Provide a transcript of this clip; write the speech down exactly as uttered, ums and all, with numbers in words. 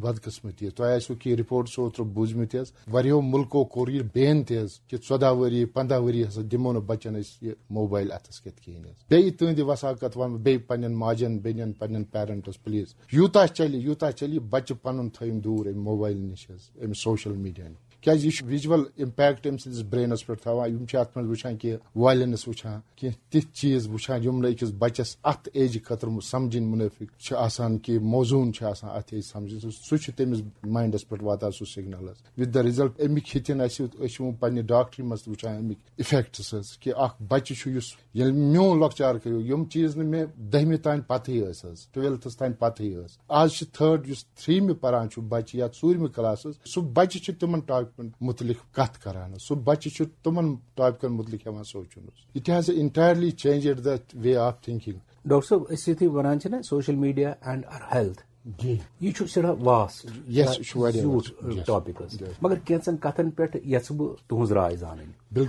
بدقسمتی، تۄہہِ آسِوٕ کینٛہہ رپورٹس اوترٕ بوٗزمٕتۍ حظ، واریاہو مُلکو کوٚر یہِ بین تہِ حظ، کہِ ژۄداہ ؤری، پنٛداہ ؤری ہسا دِمو نہٕ بچن أسۍ یہِ موبایل اتھس کٮ۪تھ کِہیٖنۍ حظ۔ بیٚیہِ تُہنٛدِ وساقت ونہٕ بہٕ بیٚیہِ پننٮ۪ن ماجن، بیٚنٮ۪ن، پننٮ۪ن پیرنٹس، پلیز، یوٗتاہ چلہِ، یوٗتاہ چلہِ، یہِ بچہِ پنُن تھٲیِن دوٗر امہِ موبایل نِش حظ، امہِ سوشل میڈیا نِش۔ کیازِ یہِ چھُ ویجول امپیکٹ أمۍ سٕنٛدِس برینس پٮ۪ٹھ تھاوان، یِم چھِ اتھ منٛز وٕچھان کینٛہہ وایلنس وٕچھان، کینٛہہ تِتھۍ چیٖز وٕچھان، یِم نہٕ أکِس بچس اتھ ایجہِ خٲطرٕ سمجھِنۍ منٲفِق چھِ آسان، کہِ موزوٗن چھِ آسان اتھ ایجہِ سمجھِنۍ۔ سُہ، سُہ چھُ تٔمِس ماینڈس پٮ۪ٹھ واتان سُہ سگنل حظ۔ وِد دا رِزلٹ، اَمِکۍ ہیٚتِن اَسہِ، أسۍ چھِ وۄنۍ پننہِ ڈاکٹری منٛز تہِ وٕچھان اَمِکۍ افیکٹس حظ، کہِ اکھ بچہِ چھُ یُس، ییٚلہِ میون لۄکچار کریو، یِم چیٖز نہٕ مےٚ دٔہمہِ تام پتہٕے ٲسۍ حظ، ٹُویلتھس تام پتہٕے ٲسۍ۔ آز چھِ تھٲرڈ، یُس تھریمہِ پران چھُ بچہِ یا ژوٗرمہِ کلاسس، سُہ بچہِ چھُ تِمن ٹاپکن مُتعلق کتھ کران حظ، سُہ بچہِ چھُ تِمن ٹاپکن مُتعلق ہٮ۪وان سونچُن حظ۔ It has entirely changed the way of thinking. Doctor صٲب، أسۍ یُتھُے وَنان چھِ نا social media and our health، جی۔ یہِ چھُ سٮ۪ٹھاہ واسٹ، Yes، یہِ چھُ واریاہ زیوٗٹھ vast۔ Yes۔ ٹاپِک حظ۔ Yes۔ مگر کینٛژن کتھن پٮ۪ٹھ یژھٕ بہٕ تُہنٛز راے زانٕنۍ۔ بِلکُل۔